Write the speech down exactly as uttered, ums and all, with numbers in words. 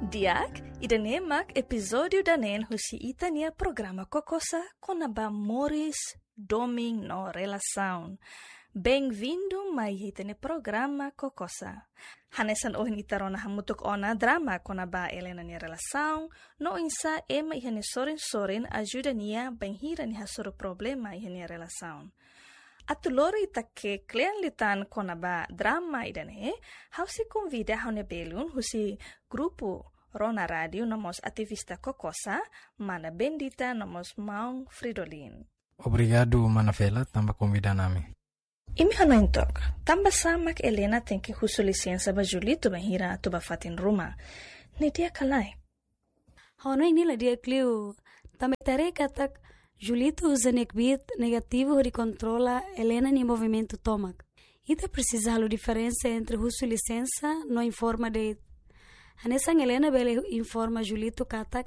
Di'ak, ida-ne'e mak epizódiu daneen husi ita-nia programa KOKOSA kona-ba moris, domin no relasaun. Benvindu mai ita-nia programa KOKOSA. Hanesan ohin ita rona hamutuk ona drama kona-ba Elena nia relasaun, no oinsá ema iha nia sorin-sorin ajuda nia bainhira nia hasoru problema iha nia relasaun. Atu lori ita ke'e kle'an liután kona-ba drama ida-ne'e, ha'u sei konvida ha'u-nia belun husi grupu Rona Rádiu no mós ativista KOKOSA, mana Bendita no mós maun Fridolin. Obrigadu, mana Fela, tanba konvida ami. Imi hanoin took, tanbasá mak Elena tenke husu lisensa ba Julito bainhira atu ba fatin ruma? Ne'e di'ak ka lae? Ha'u hanoin ne'e la di'ak liu, tanba ita haree katak Julito uza nia kbiit negativu hodi kontrola Elena nia movimentu tomak. Ita presiza halo diferensa entre husu lisensa no informa de'it. Hanesan Elena bele informa Julito katak